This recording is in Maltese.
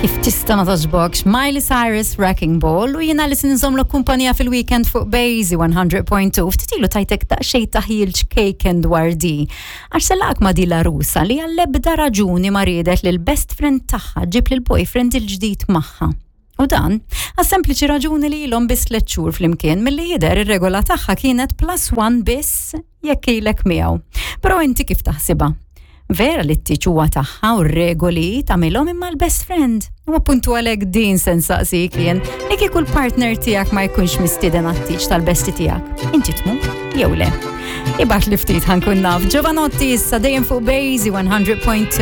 Kif tista' ma togħġbokx Miley Cyrus Wrecking Ball u jiena li sinżomlok kumpanija fil-weekend fuq Bazy 100.2 ftit ilu tajtek daqsxejn taħjil ċkejken dwar di. Għax selaq ma di la rusa li għall-ebda raġuni ma riedet li l-best friend tagħha ġib lil boyfriend il-ġdid magħha. U dan, għas sempliċi raġuni li ilhom biss tliet xhur flimkien milli jidher ir-regola tagħha kienet plus one biss jekk ilek miegħu. Però inti kif taħsibha? Vera li t-tieġ huwa tagħha u r-regoli tagħmilhom imma l-best friend. U appuntu għalhekk din se nsaqsik jien li kieku l-partner tiegħek ma jkunx mistieden għat-tieġ tal-besti tiegħek. Inti tmur jew le? Ibgħat li ftit ħankun naf. Jovanotti issa dejjem fuq Bazy 100.2.